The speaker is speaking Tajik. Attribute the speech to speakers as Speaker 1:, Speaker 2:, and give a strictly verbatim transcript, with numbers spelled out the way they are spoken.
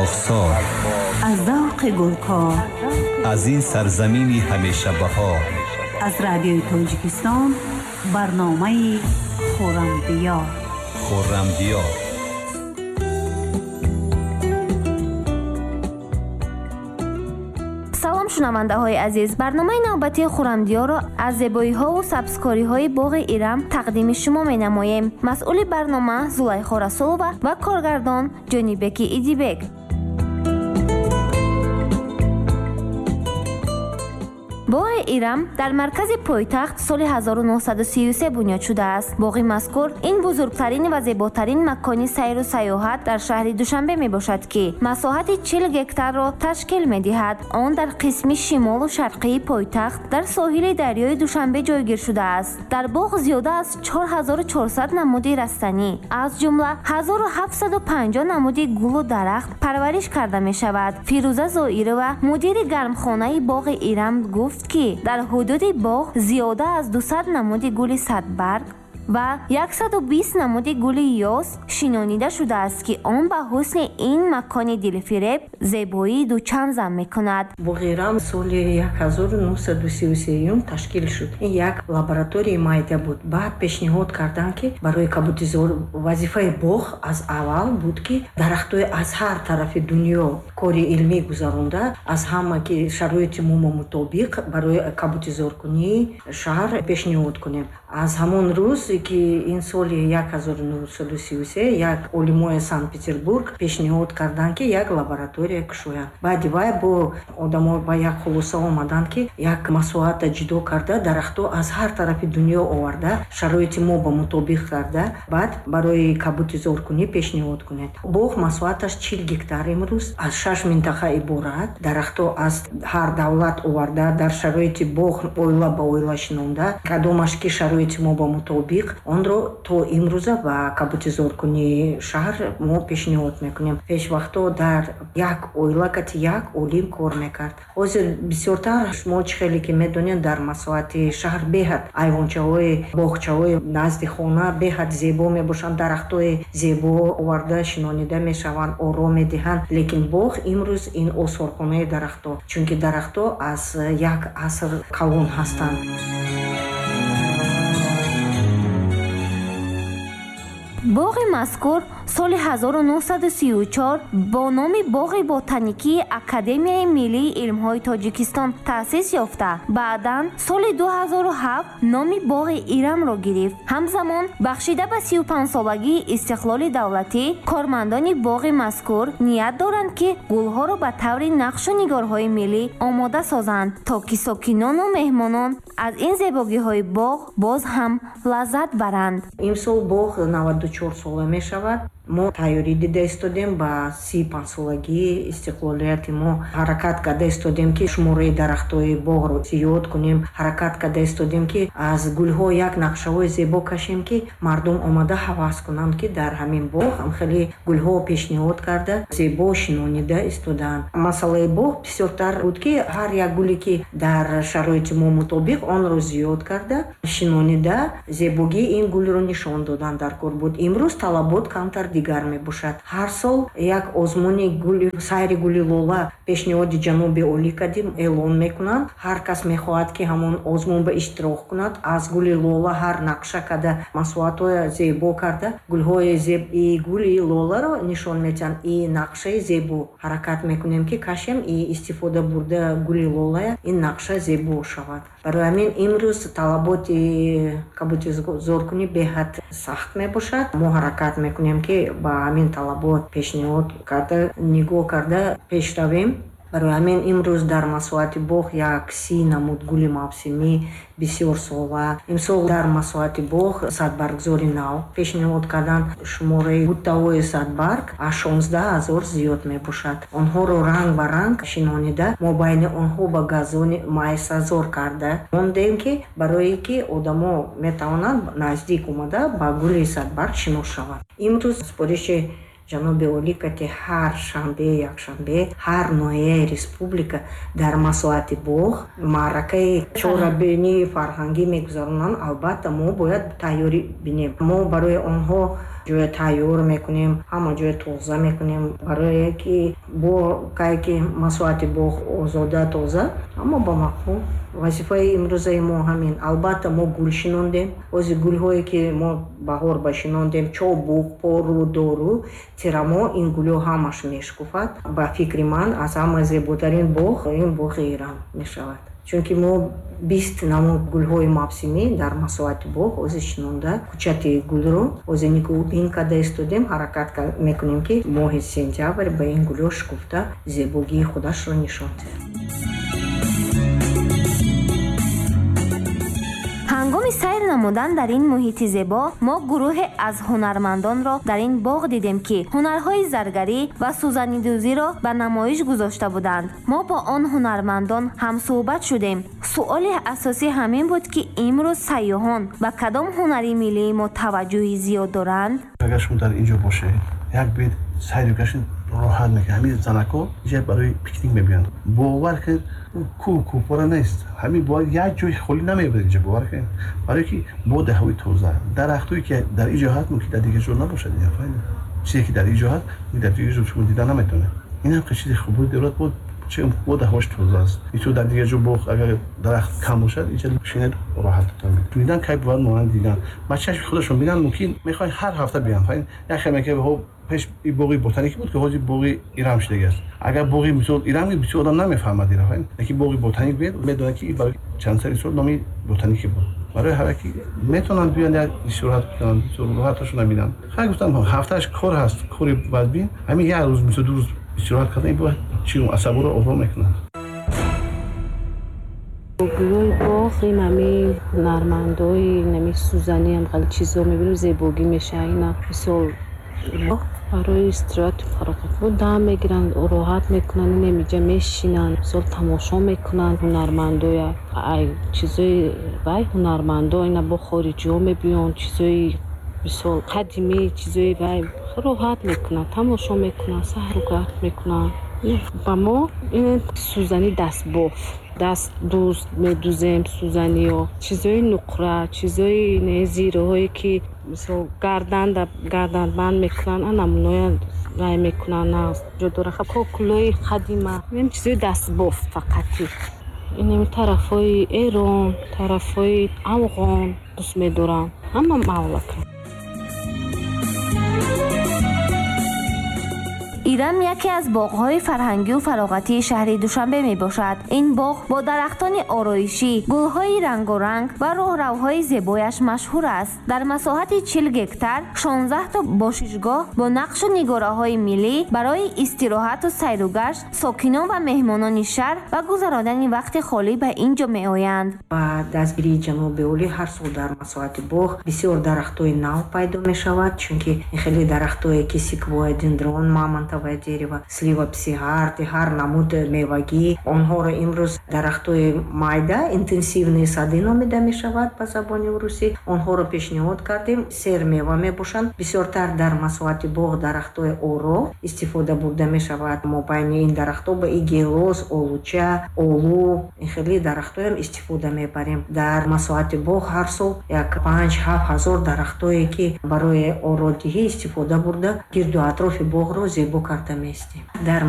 Speaker 1: Боғсор,
Speaker 2: аз завқи гулкор,
Speaker 1: аз ин сарзамини ҳамеша баҳор,
Speaker 2: аз радиои Тоҷикистон барномаи Хуррамдиёр.
Speaker 1: Хуррамдиёр.
Speaker 3: Салом, шунавандаҳои азиз. Барномаи навбатии Хуррамдиёрро аз зебоиҳову сабзкориҳои боғи Ирам тақдими шумо менамоем. Масъули барнома Зулайхо Расулова ва коргардон Ҷонибеки Идибек. Боғи Ирам дар маркази пойтахт соли ҳазору нуҳсаду сию се бунёд шудааст. Боғи мазкур ин бузургтарин ва зеботарин макони сайру сайёҳат дар шаҳри Душанбе мебошад, ки масоҳати чил гектарро ташкил медиҳад. Он дар қисми шимолу шарқии пойтахт дар соҳили дарёи Душанбе ҷойгир шудааст. Дар боғ зиёда аз чор ҳазору чорсад намуди растанӣ, аз ҷумла ҳазору ҳафтсаду панҷоҳ намуди гулу дарахт парвариш карда мешавад. Фирӯза Зоирова, мудири гармхонаи боғи Ирам, гуфт ки дар ҳудуди боғ зиёда аз дусад намуди гули садбарг ва яксаду бист намуди гули ёс шинонида шудааст, ки он ба ҳусни ин макони дилфиреб зебоии дучанд зам мекунад.
Speaker 4: Боғи Ирам соли як ҳазору нуҳсаду сию сеюм ташкил шуд. Ин як лабораторияи майда буд. Баъд пешниҳод карданд, ки барои кабутизор вазифаи боғ аз аввал буд, ки дарахтҳои аз ҳар тарафи дунё кори илмӣ гузаронда, аз ҳама ки шароити мо мутобиқ барои кабутизоркунии шаҳр пешниҳод кунем. Аз ҳамон рӯз ки ин соли як ҳазору нуҳсаду сию се як олимои Санкт-Петербург пешниҳод карданд, ки як лаборатория кушоянд. Баъди вай бо одамо ба як хулоса омаданд, ки як масоҳата ҷудо карда, дарахтҳо аз ҳар тарафи дунё оварда, шароити мо ба мутобиқ карда, баъд барои кабутизоркунӣ пешниҳод кунед. Боғ масоҳаташ чил гектар имрӯз аз шаш минтақа иборат. Дарахтҳо аз ҳар давлат оварда, дар шароити боғ оила ба оила шинонда, кадомаш ки шароити мо ба мутобиқ, онро то имрӯза ба кабутизоркунии шаҳр мо пешниҳод мекунем. Пешвақтҳо дар як оила кати як олим кор мекард. Ҳозир бисёртар шумо чӣ хеле ки медонед, дар масоҳати шаҳр беҳад айвончаҳои боғчаҳои назди хона беҳад зебо мебошанд, дарахтҳои зебо оварда шинонида мешаванд, ором медиҳанд. Лекин боғ имрӯз ин осорхонаи дарахтҳо, чунки дарахтҳо аз як аср калон ҳастанд.
Speaker 3: Боғи мазкур соли ҳазору нуҳсаду сию чор бо номи Боғи ботаникии Академияи миллии илмҳои Тоҷикистон таъсис ёфта, баъдан соли ду ҳазору ҳафт номи Боғи Ирамро гирифт. Ҳамзамон бахшида ба сию панҷсолагии истиқлоли давлатӣ, кормандони боғи мазкур ният доранд, ки гулҳоро ба таври нақшу нигорҳои миллӣ омода созанд, то ки сокинону меҳмонон аз ин зебогиҳои боғ боз ҳам лаззат баранд.
Speaker 4: Имсол боғ наваду чор сола мешавад. Мо тайёрӣ дида истодем ба си панҷсолагии истиқлолияти мо. Ҳаракат карда истодем, ки шумораи дарахтҳои боғро зиёд кунем. Ҳаракат карда истодем, ки аз гулҳо як нақшаҳои зебо кашем, ки мардум омада ҳавас кунанд, ки дар ҳамин боғ ҳам хеле гулҳо пешниҳод карда, зебо шинонида истодаанд. Масъалаи боғ бисёртар буд, ки ҳар як гуле ки дар шароити мо мутобиқ, онро зиёд карда, шинонида, зебогии ин гулро нишон додан дар кор буд. Имрӯз талабот камтар дигар мебошад. Ҳар сол як озмуни гули сайри гули лола пешниҳоди ҷаноби олӣ кардем, эълон мекунанд. Ҳар кас мехоҳад, ки ҳамон озмун ба иштирок кунад, аз гули лола ҳар нақша карда, масоҳатҳои зебо карда, гулҳои зеб и гули лоларо нишон медиҳанд. И нақшаи зебо ҳаракат мекунем, ки кашем и истифода бурда гули лолая, ин нақша зебо шавад. Барои ҳамин имрӯз талаботи кабутизоркунӣ беҳад сахт мебошад. Мо ҳаракат мекунем, ки ба ҳамин талабот пешниҳод карда, нигоҳ карда пеш равем. Барои ҳамин имрӯз дар масоҳати боғ як си намуд гули мавсимӣ бисёрсола. Имсол дар масоҳати боғ садбаргзори нав пешниҳод карданд. Шумораи буттаҳои садбарг аз шонздаҳ ҳазор зиёд мебошад. Онҳоро ранг ба ранг шинонида, мо байни онҳо ба газони майсазор карда мондем, ки барое ки одамо метавонанд наздик омада ба гули садбарг шинос шаванд. Имрӯз супориши ҷаноби олӣ кати ҳар шанбе, якшанбе ҳар ноҳияи республика дар масоҳати боғ маъракаи чорабинии фарҳангӣ мегузаронанд. Албатта, мо бояд тайёрӣ бинем. Мо барои онҳо Ҷоя тайёр мекунем, ҳама ҷоя тоза мекунем, барое ки бо кае ки масоҳати боғ озода, тоза, аммо ба маъқул. Вазифаи имрӯзаи мо ҳамин. Албатта, мо гул шинондем. Ози гулҳое ки мо баҳор ба шинондем, чобуқ, пору, дору, тирамо, ин гулҳо ҳамаш мешкуфад. Ба фикри ман, аз ҳама зеботарин боғ ин боғи Ирам мешавад, чунки мо бист намуд гулҳои мавсимӣ дар масоҳати боғ ози шинонда, кӯчати гулро ози нигоҳубин карда истодем. Ҳаракат мекунем, ки моҳи сентябр ба ин гулҳо шукуфта, зебогии худашро нишон диҳад.
Speaker 3: Ҳангоми сайр намудан дар ин муҳити зебо мо гурӯҳе аз ҳунармандонро дар ин боғ дидем, ки ҳунарҳои заргарӣ ва сӯзанидӯзиро ба намоиш гузошта буданд. Мо бо он ҳунармандон ҳамсӯҳбат шудем. Суоли асосӣ ҳамин буд, ки имрӯз сайёҳон ба кадом ҳунари миллии мо таваҷҷӯҳи зиёд доранд.
Speaker 5: Агар шумо дар ин ҷо бошед, як бет сайру гашт роҳат мекунад. Ҳамин занако инҷа барои пикник мебиёнд. Бовар кунед, кӯҳ кӯҳпора нест, ҳамин бояд як ҷои холӣ намебаред инҷа, бовар кунед, барое ки боди ҳавои тоза, дарахтое ки дар ин ҷо ҳаст, мумкин дар дигар ҷо набошад. Чизе ки дар ин ҷо ҳаст, дар дигар ҷо шумо дида наметавонед. Ин ҳам чизи хуб дорад, буд че боди ҳавош тоза аст. Ито дар дигар ҷо боғ агар дарахт кам бошад, инҷа шинед, роҳат дидан кай бувад, монанд дидан ба чашми худашон бинанд. Мумкин мехоҳанд ҳар ҳафта биёнд. Як хел мекунад, пеш боғи ботаникӣ буд, ки ҳозир боғи Ирам шудагӣ аст. Агар боғи мисол Ирам, бисёр одам намефаҳмад ира, лекин боғи ботаник биёд, медонад, ки барои чанд сари сол номи ботаникӣ буд. Барои ҳар ки метавонанд биёнд, як истироҳат кунанд, роҳаташонро бинанд. Хай, гуфтам, ҳафтааш кор ҳаст, кори бадбин, ҳамин як рӯз, мисол ду рӯз истироҳат кардан бояд чи асаборо ором мекунад.
Speaker 6: Гулҳои боғ, ин ҳами ҳунармандои нами сӯзанӣ ҳам хеле чизо мебинем, зебогӣ мешавад. Ина мисол барои истироҳату фароғат бо дам мегиранд, роҳат мекунанд, инамиҷа мешинанд, мисол тамошо мекунанд ҳунармандоя. Ай чизои вай ҳунармандо ина бо хориҷиҳо мебиёнд, чизои мисол қадимӣ, чизои вай роҳат мекунанд, тамошо мекунанд, саҳругашт мекунанд. Ба мо ин сӯзани дастбоф, даст дӯз медӯзем, сӯзаниё, чизои нуқра, чизои зираҳое ки мисол гарданда гарданбанд мекунанд, намуноя рай мекунанд, ҷо дора кокулои қадима, ин чизои дастбоф фақати. Инами тарафҳои Эрон, тарафҳои Афғон дӯст медорам, ҳама мавлака.
Speaker 3: Ирам яке аз боғҳои фарҳангию фароғатии шаҳри Душанбе мебошад. Ин боғ бо дарахтони ороишӣ, гулҳои рангоранг ва роҳравҳои зебояш машҳур аст. Дар масоҳати чил гектар шонздаҳто бошишгоҳ бо нақшу нигораҳои миллӣ барои истироҳату сайругашт сокинон ва меҳмонони шаҳр ва гузаронидани вақти холӣ ба ин ҷо меоянд.
Speaker 4: Ба дастгирии ҷаноби олӣ ҳар сол дар масоҳати боғ бисёр дарахтҳои нав пайдо мешавад, чунки хеле дарахтҳое ки секвоя, дендрон, мамонтовое дерево, слива псигард, ҳар намуд мевагӣ. Онҳоро имрӯз дарахтҳои майда, интенсивные сады номида мешавад ба забони русӣ. Онҳоро пешниҳод кардем, сермева мебошанд. Бисёртар дар масоҳати боғ дарахтҳои оро истифода бурда мешавад. Мобайни ин дарахтҳо ба и гелос, олуча, олу, ин хеле дарахтҳоям истифода мебарем. Дар масоҳати боғ ҳар сол як панҷ ҳафт ҳазор дарахтҳое ки барои ородиҳӣ истифода бурда, гирду атрофи боғро зебо карда меистем. Дар